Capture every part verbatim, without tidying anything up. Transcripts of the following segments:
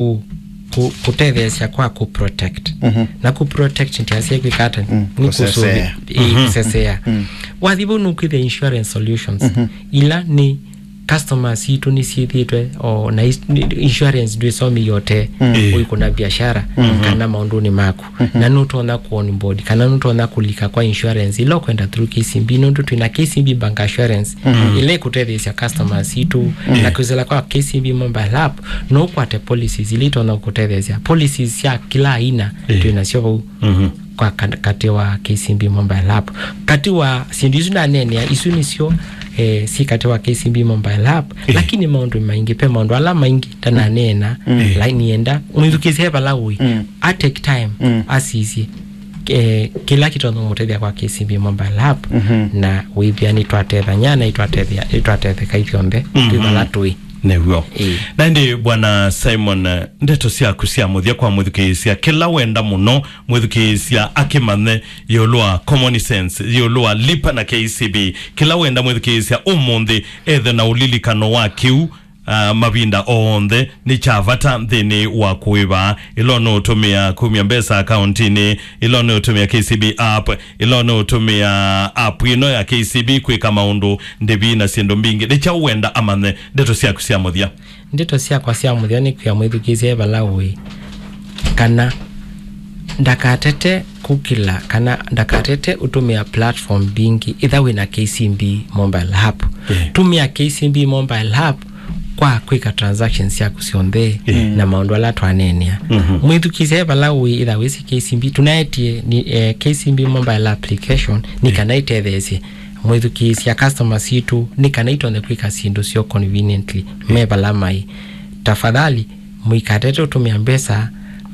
ku-, ku-, kũtetheesya kwa kũ protect. Mhm. Na kũ protect ntiasya kwĩka ata? Mm, nĩ kũsesea. Kũsũvĩ-, ĩ, mhm, kũsesea. Mm. Wathi vau nũkwĩthĩa insurance solutions. Mhm. Ila nĩ customers sitũ nĩsyĩthĩĩtwe, o, na is-, nĩ, insurance ndwĩsomi yote, mm, ĩ, ũikũna biashara, mhm, kana maũndũnĩ maku. Mhm. Na nũtonya kũ onboard, kana nũtonya kũlika kwa insurance ila ũkwenda through K C B, nũndũ twĩna K C B Bank Assurance, mhm, ila ĩkũtetheesya customers sitũ, mm, na kwĩsĩla kwa K C B Mobile App, no ũkwate policies ila itonya kũtetheesya. Policies sya kila aina, ĩ, twĩnasyo vau, mhm, kwa ka-, katĩ wa K C B Mobile App. Katĩ wa syĩndũ isu ndaneenea, isu nĩsyo, eh, syĩ katĩ wa K C B Mobile App, ĩ, lakini maũndũ maingĩ, ve maũndũ ala maingĩ ndananeena, mm, ĩ, lakini enda mwĩthukĩĩsye vala ũĩ, mm, a take time, mm, asisye, eh, kĩla kĩtonya mũtethya kwa K C B Mobile App, mhm, na wĩthĩa nĩtwatethany'a na itwatethya, itwatetheka ithyonthe, mhm, twĩ vala tũĩ. Nĩw'o. Ĩĩ. Na ĩndĩ, Bwana Simon, eh, ndeto syaku sya mũthya kwa mwĩthukĩĩsya, kĩla wenda mũno mwĩthukĩĩsya akĩmanye ĩũlũ wa Common Sense, ĩũlũ wa Lipa na K C B, kĩla wenda mwĩthukĩĩsya ũmũnthĩ ethe na ũlilikano wa kĩu, ah, mavinda onthe nĩ kya vata nthĩnĩ wa kũĩva. Ĩla ũnũũtũmĩa kumya mbesa akauntinĩ, ĩla ũnũũtũmĩa K C B app, ĩla ũnũũtũmĩa app ĩno ya K C B kwĩka maũndũ, ndĩvi na syĩndũ mbingĩ. Nĩ kyaũ wenda amanye? Ndeto syaku sya mũthya. Ndeto syakwa sya mũthya nĩ kwĩa mwĩthukĩĩsya e vala ũĩ, kana ndakatete kũkĩla, kana ndakatete ũtũmĩa platform mbingĩ ĩtha wĩna K C B Mobile App. Yeah. Tũmĩa K C B Mobile App kwa kwĩka transactions syaku syonthe, yeah, na maũndũ ala twaneenea. Mhm. Mwĩthukĩĩsya e vala ũĩ, ĩtha wĩsĩ K C B, tũnaetie nĩ, eh, K C B Mobile Application nĩ, yeah, kana ĩtetheesye mwĩthukĩĩsya customer sitũ nĩ kana itonye kwĩka syĩndũ syoo conveniently, yeah, me vala maĩ. Tafadhali, mũikatete ũtũmĩa mbesa,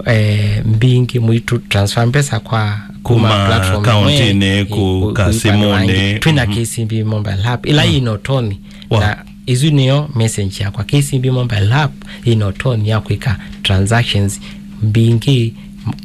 eh, mbingĩ, mũitu transfer mbesa kwa kuma, kuma platform akauntinĩ, ĩmwe, ĩ, kũ-, kũka kũ-, kũika simunĩ. Twĩna, mhm, K C B Mobile App ĩla, mm, ĩna ũtonyi. Wow. Na ĩsu nĩyo message yakwa. K C B Mobile App ĩna ũtonyi ya kwĩka transactions mbingĩ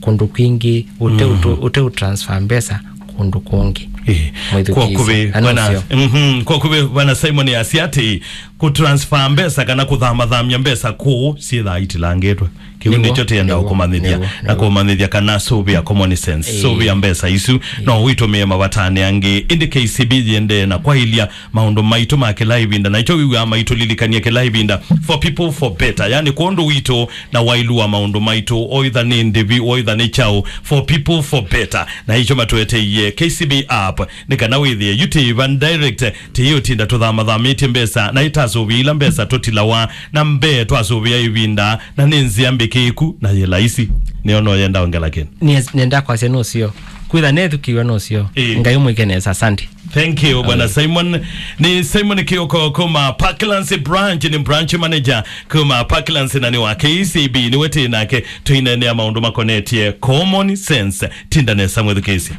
kũndũ kwingĩ ũte, mhm, ũte, ũte ũtransfer mbesa kũndũ kũngĩ. Ĩĩ. Mwĩthukĩĩsya. Kwa kũvĩ, na bwana, nũseo. Mhm, kwa kũvĩ, Bwana Simon asya atĩ kũtransfer mbesa kana kũthamathamya mbesa kũu syĩthaa itilangĩtwe. Kĩu nĩw'o, nĩkyo tĩenda, nĩw'o, ũkũmanyĩthya, nĩw'o, na nĩw'o. Kũmanyĩthya kana sũvĩa Common Sense, ĩĩ, sũvĩa mbesa isu, ĩĩ, no ũitũmĩe mavatanĩ angĩ. Ĩndĩ K C B yĩendee na kwaĩlya maũndũ maitũ ma kĩla ĩvinda, na ĩkyo wĩw'aa maitũlilikany'a kĩla ĩvinda, for people for better, yani kwondũ witũ na wailu wa maũndũ maitũ, oitha nĩ ndĩvi, oitha nĩ kyaũ, for people for better. Na ĩkyo matũeteie K C B app, nĩ kana wĩthĩe yu tĩĩva direct, tĩyĩũtinda tũthamathamĩtye mbesa, na ĩtasũvĩa ila mbesa tũtilawa na mbee twasũvĩa ĩvinda, na nĩ nzĩa mbĩkĩĩku na yĩ laisi. Nĩyo no yenda ongela kĩndũ. Nĩ, nenda kwasya nũseo. Kwĩtha nethukĩiwe nũseo. Ĩĩ. Ngai ũmwĩke nesa. Asante. Thank you, Bwana Simon. Nĩ Simon Kioko kuma Parklands branch, nĩ branch manager kuma Parklands na nĩ wa K C B. Nĩwe tĩ nake tũineenea maũndũ makonetye Common Sense. Tinda nesa mwĩthukĩĩsya.